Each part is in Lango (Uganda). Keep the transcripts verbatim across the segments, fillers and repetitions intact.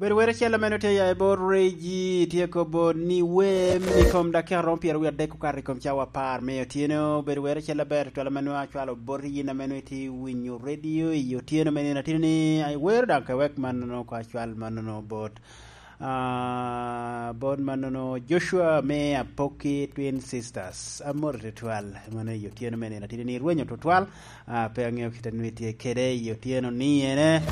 Bedo were acel ame nwoŋo tye ya i bot Regi, tye kobo ni wem i kom dakika romo pyeraryo adek okato i kom cawa apar me otyeno. Bedo were acel aber tutwal ame nwoŋo acwalo boti yin ame nwoŋo itye winyo redio i otyeno me nino atino ni, ai, wero daŋ ka wek mannono ko acwal mannono bot, ah, bot mannono Joshua me Apoki Twin Sisters. Amor tutwal, mano i otyeno me nino atino ni rwenyo tutwal. Ah, pe aŋeo kit a nwoŋo itye kede i otyeno ni ene.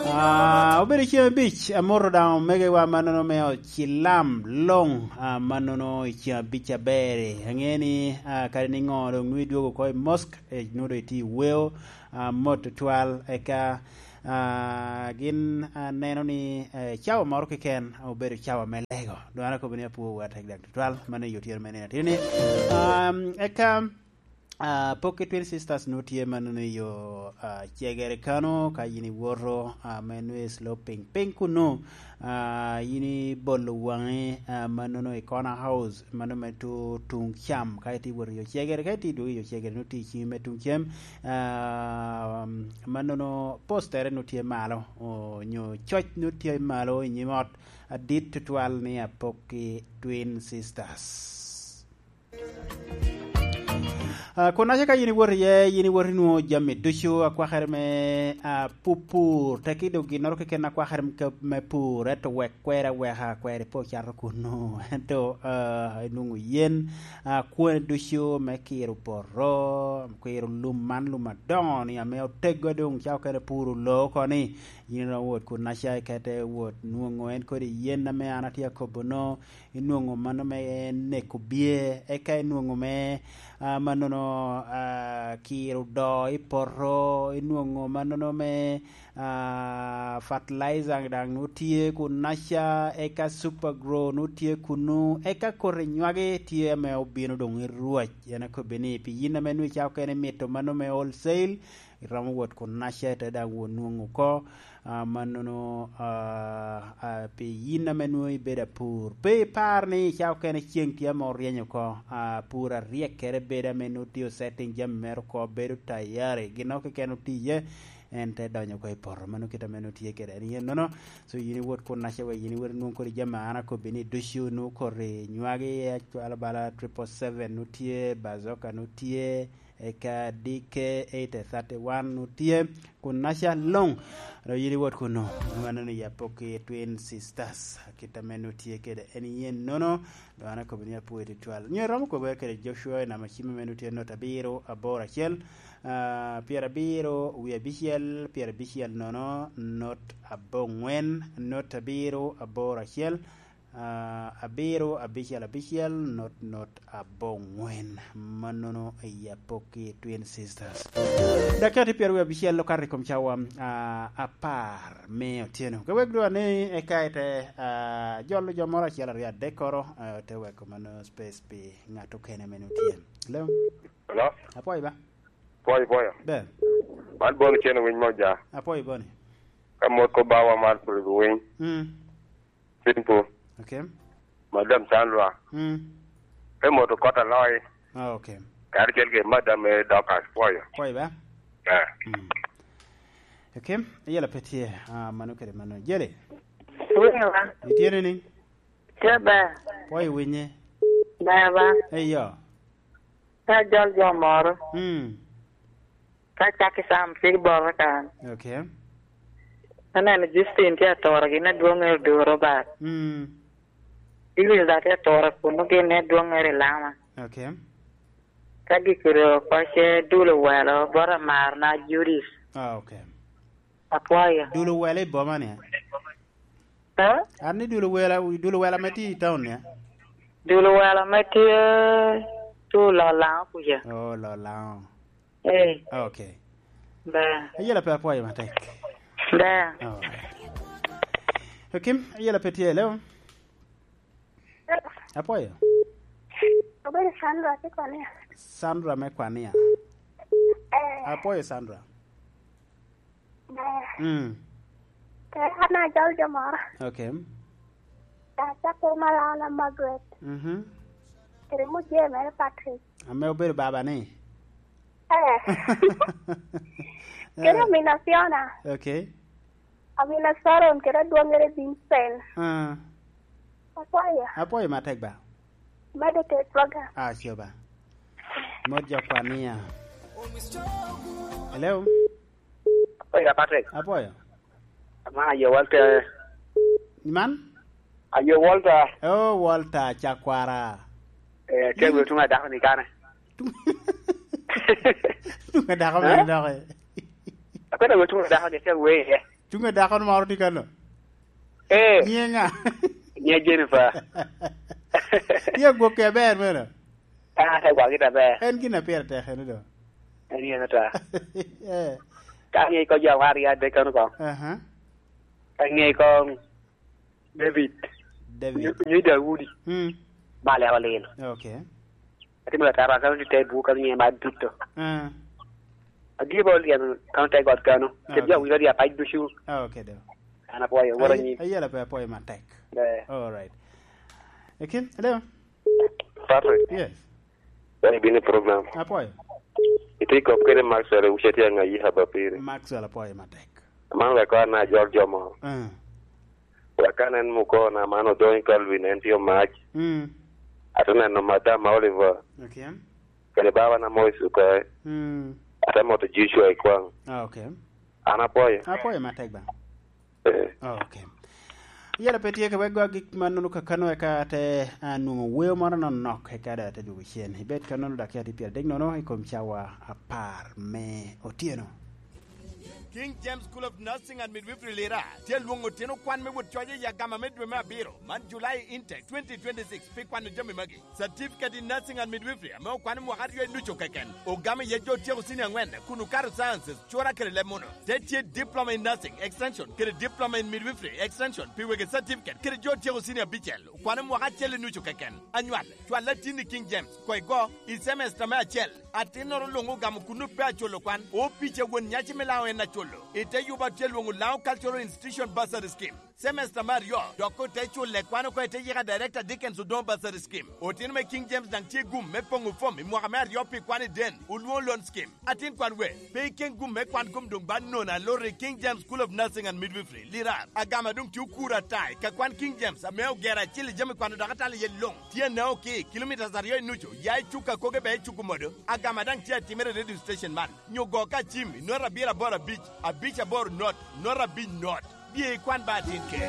Ah, obedo ceng abic, amoto daŋ omegowa mannono me ocilam luŋ, ah, mannono i ceng abic aber. Aŋeo ni, ah, kadi niŋo doŋ nwoŋo idwogo oko i mosk, eh, nwoŋo doŋ itye i weo, ah, mot tutwal, eka, ah, gin, ah, neno ni, eh, cawa moro keken obedo cawa me lego. Doŋ an akobo ni apwowu atek daŋ tutwal, mano i otyeno me nino atino ni. Ah, eka, Ah, Apoki Twin Sisters nwoŋo tye mannono i yo, ah, Cegere kano, ka yin iwoto, ah, me nwoŋo i Sloping piny kunnu, ah, yin ibolo waŋi, ah, mannono i Corner House, mano me tu-, tuŋ cam, ka itye iwoto i yo Cegere, ka itye idwogo i yo Cegere, nwoŋo tye i ciŋi me tuŋ cem, ah, mannono postere nwoŋo tye malo, onyo coc nwoŋo tye malo i nyim ot adit tutwal ni Apoki Twin Sisters. Ah, kun aca ka yin iwot iye, yin iwot inwoŋo jami ducu akwakere me, ah, pupur, teki doŋ ginnoro keken akwakere me, me pur, ento wek kweri aweka, kweri pe ocato kunnu, ento, ah, inwoŋo yen, ah, kwone ducu me kiro poto, kiro lum man lum adoŋo ni ame oteggo doŋ ca okene puro loo oko ni, yin iromo wot kun aca ikete wot nwoŋo en kodi yen ame an atye akobo no, inwoŋo mano me neko bye, eka inwoŋo me, ah, mannono, ah, kiro doo i poto, inwoŋo mannono me, ah, fertilizer daŋ nwoŋo tye kunnaca, eka Super Grow nwoŋo tye kunnu, eka koti nywagi tye ame obino doŋ i rwac. En akobbi ni, pi yin ame nwoŋo icako kene mito mano me wholesale, iromo wot kunnaca, ite daŋ wot nwoŋo oko, ah, mannono, ah, ah, pi yin ame nwoŋo ibedo apur. Pe ipar ni icako kene ceŋ tye ame oryeny oko, ah, pur aryek kere bedo ame nwoŋo tye osetting jami mere oko, bedo tayari, ginnoro keken otiye, en te donyo oko i poto. Mano kit ame nwoŋo tye kede en yen nono. So yin iwot kunnaca wek yin iwot inwoŋ kodi jami a an akobbi ni ducu, nwoŋo koti nywagi, acwalo bala triple seven nwoŋo tye, bazoka nwoŋo tye, eka D K eight thirty one nwoŋo tye, kunnaca luŋ. Dok yin iwot kunnu, mano ni Apoki Twin Sisters, kit ame nwoŋo tye kede en yen nono, dok an akobo ni apwoyo tutwal. Nyo iromo kobere kede Joshua i namba cim ame nwoŋo tye not abiro aboro acel, ah, pyerabiro wie abicel, pyerabicel nono, not aboŋwen, not abiro aboro acel, ah, abiro abicel abicel, not, not aboŋwen. Mannono i Apoki Twin Sisters. Dakika tye pyeraryo abicel okato i kom cawa, ah, apar me otyeno. Ka wek dwa ni eka ite, ah, jolo jo moro acel aryo adekkoro, ah, te weko mano space pi ŋat okene ame nwoŋo tye. Hello? Hello? Apwoyo ba? Pwoyo, pwoyo. Ber. Man Boni Cen Owiny Moja. Apwoyo Boni. Ka mot ko bawa mar Pulgo Winy. Mm. Simple. Okay. Madam Sandra. Mm. Pe moto kot aloi. Ah, okay. Karacel ke madam, eh, Dorcas, pwoyo. Pwoyo ba? Eh. Mm. Okay. Yela pe tye, ah, mano kede mano. Jele. Winyo ba? Itye ni ni? Tye ber. Pwoyo winye. Ber ba? Eyo. Ka jol jo moro. Mm. Ka cak i Sam tye boro kan. Okay. Aneno Justin tye atoro gin adwoŋŋere Oduro Robert. Mm. Iwinyo da tye atoro kuno gin adwoŋŋere Lama. Okay. Ka gikiro oko ce dulo welo bot amarna Judith. Ah, okay. Apwoyo. Dulo welo i boma ni? Eh? An ni dulo wela, dulo wela me tye i town ni? Dulo welo me tye tu Lolaŋo kuca. Oh, Lolaŋo. Eh. Okay. Ber. Ayela pe apwoyo matek. Ber. Alright. Okim, ayela pe tye, hello? Apwoyo. Obedo Sandra tye Kwania. Sandra me Kwania. Eh. Apwoyo Sandra. Ber. Mm. Kere an ajol jo moro. Okay. Acako Malala Margaret. Mhm. Kere mujee mere Patrick. Ame obedo baba ni? Eh. Kere Eh. Omin Afiona. Okay. Amina Sharon kede adwoŋŋere Vincent. Ah. Apwoyo. Apwoyo matek ba. Medo ke program. Ah, sure ba. Mot jo kwania. Hello? Apwoyo, Patrick. Apwoyo. Man aye Walter. Man? Aye Walter. Oh, Walter Chakwara. Eh, tye wi tuŋ a dako ni kane. Tuŋ, tuŋ a dako mene dok, eh? Akwena wi tuŋ a dako ni tye wi, eh. Tuŋ a dako moro tye kano? Eh. Nyiŋ ŋa? Nyiŋ Jennifer. Tye agwokke aber mene? Ah, tye agwokke aber. En gin a pire tek eno do. En yen ata. Eh. Ka ŋe ko jo war ya de kano ko. Aha. Ka ŋe ko David. David. Nyo, nyo Daudi. Hmm. Ba leko lino. Okay. Atimo latara kano te buk kano nyo ma duto. Ah. Adie ba olyen kano te got kano. Ah, okay. Te jo wilo dia pa ducu. Ah, okay, do. An apwoyo, woro nyi. Ayela pe apwoyo matek. Eh. All right. Ekin, hello? Patrick. Yes. Wani bini program. Apwoyo. Iti kop kede Maxwell, wuce ti anga yi haba piri. Maxwell apwoyo matek. Man wek kwan na jol jomo. Ah. Wek kan en mukona man odong i Calvin, en tye omac. Mm. Ate neno Madam Oliver. Okay. Kede baba na Moise Okoy. Mm. Ate moto Joshua i kwaŋ. Ah, okay. An apwoyo. Apwoyo matek ba. Eh. Ah, okay. Yala pe tye ka wek gwa gik mannono kakano eka ate, ah, nwoŋo weo moro nonok eka da ate dwogo cen. Ibed kannono dakika tye pyeradek nono i kom cawa apar me otyeno. King James School of Nursing and Midwifery Lira tye alwoŋo otino kwan me wot coc i agama me dwe me abiro, man July intake twenty twenty-six, pi kwano jami magi. Certificate in Nursing and Midwifery ame okwano mwaka aryo i nucu keken, ogamo iye jo otyeko senior angwen kun okato sciences, cura kede leb muno. Te tye Diploma in Nursing, Extension, kede Diploma in Midwifery, Extension, pi wegi certificate kede jo otyeko senior abicel, okwano mwaka acel i nucu keken. Anywal, cwal atin i King James, koi go, i semester me acel. Atinnoro luŋ ogamo kuno pe aculo kwan. Opic a won nyaci me Laŋo en aculo. I te yuba tye lwoŋo Laŋo Cultural Institution Bursary Scheme. Semester me aryo, dok ote culle kwan oko i te yika Director Dickens Odongo Bursary Scheme. Otino me King James daŋ tye gum me poŋo fom i mwaka me aryo pi kwan i den, olwoŋo loan scheme. Atin kwan we, pe iken gum me kwan kom doŋ ba nono aloro i King James School of Nursing and Midwifery, Lirar. Agama doŋ tye okuro ata i ka kwan King James ame ogero acil i jami kwano dok atalo iye luŋ. Tye anao ki kilomitas aryo i nucu, ya i cuk akoge be i cuk omodo. Agama daŋ tye atimere i radio station man. Nyo go ka cim i not abiro aboro abic, abic aboro not, not abic not. Bye ikwan ba atin ke.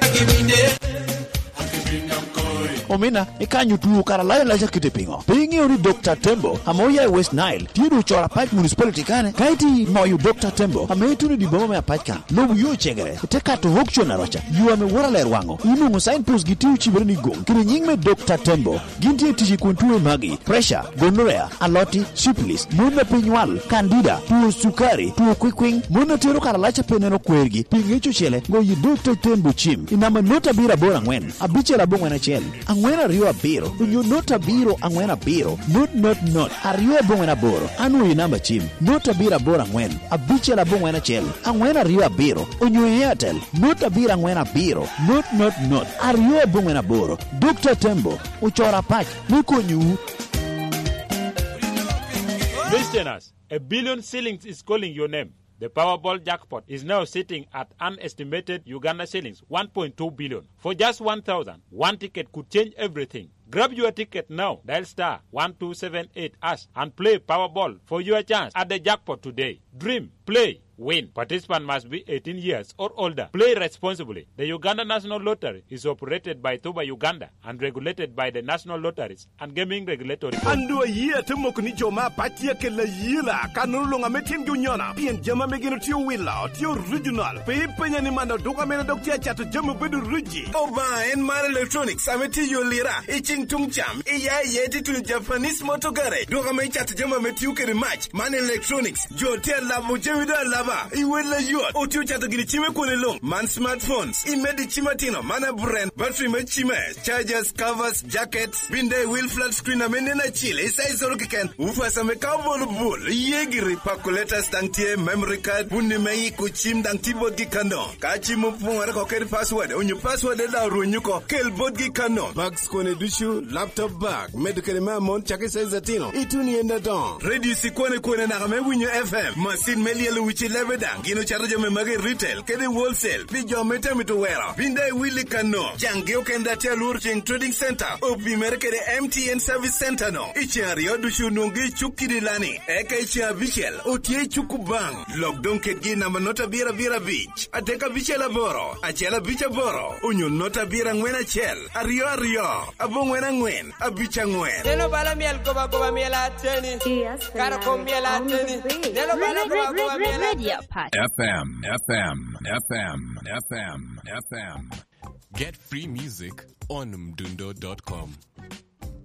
Omina, ikanyo tuo kara layo laca kite piŋo? Pe iŋeo ni Dokta Tembo, ame oya i West Nile, tye doŋ ocoro Apac Municipality kane? Ka iti moyo Dokta Tembo, ame ituno i dye boma me Apac kan, lobo yo cegere, ite kato Hokcon Aroca, yo ame woto aler waŋo, inwoŋo signpost gi tye ocibere ni goŋ, kede nyiŋ me Dokta Tembo. Gin tye tic i kun tuo magi, pressure, gonorrhea, aloti, syphilis, mon a pe nywal, candida, tuo cukari, tuo kwikwiŋ, mon a tero karalac a pe neno kwergi, pi ŋec ocele, goyo Dokta Tembo cim i namba not abiro aboro aŋwen, abicel aboŋwen acel, aŋwen aryo abiro, onyo not abiro aŋwen abiro, not not not, aryo aboŋwen aboro, anwoyo i namba cim, not abiro aboro aŋwen, abicel aboŋwen acel, aŋwen aryo abiro, onyo i Airtel, not abiro aŋwen abiro, not not not, aryo aboŋwen aboro. Dokta Tembo, ocoro Apac me konyowu. Listeners, a billion shillings is calling your name. The Powerball jackpot is now sitting at an estimated Uganda shillings one point two billion. For just one thousand, one ticket could change everything. Grab your ticket now. Dial star one two seven eight hash and play Powerball for your chance at the jackpot today. Dream, play, win. Participant must be eighteen years or older. Play responsibly. The Uganda National Lottery is operated by Thuba Uganda and regulated by the National Lotteries and Gaming Regulatory Board. An doŋ ayie ate moko ni jo me Apac tye akelo ayela, kannono luŋ ame tyengi onyono, pien jami ame gin otye owilo tye original. Pe ipenya ni man oduka mene dok tye acato jami obedo origi. Obaŋa en mar Electronics ame tye i yo Lira, i ceng tuŋ cam, iya iye tye tuno Japanese Motor Garage, duka ame cato jami ame tio kede mac. Man Electronics, jo tye alabo jami doŋ alaba, i wel ayot, otye ocato gini cime kwone luŋ. Man smartphones, imedo i cim atino, man aburen, battery me cime, chargers, covers, jackets, binde i wheel flat screen ame nen acil, i size oro keken, woofers ame ka obolo bul, iye giri, calculators daŋ tye, memory card, puni me iko cim daŋ tye botgi kano. Ka cim opoŋore oko kede password, onyo password daŋ orwenyo oko, kel botgi kano. Bags kone ducu, laptop bag, medo kede me amon, cak i size atino, ituno i en adoŋo. Radio sikone kone naka me winyo F M, macin me lyelo wic i Ebe daŋ gin ocato jami magi i retail kede i wholesale pi jo me tamito wero. Bin daŋ iwilli kanno. Jaŋgi okende atye alworo ceŋ Trading Center opimere kede M T N Service Center no. I ceŋ aryo ducu onwoŋgi i cuk kidi lani. Eka i ceŋ abicel otye i cuk Kubaŋ. Lok doŋ kedgi i namba nota abiro abiro abic, adek abicel aboro, acel abic aboro, onyo nota abiro aŋwen acel, aryo aryo, aboŋwen aŋwen, abic aŋwen. Neno bala myel goba goba myel ateni. Karo kom myel ateni. Neno bala goba goba myel ateni. F M, F M, F M, F M, F M. Get free music on mdundo dot com.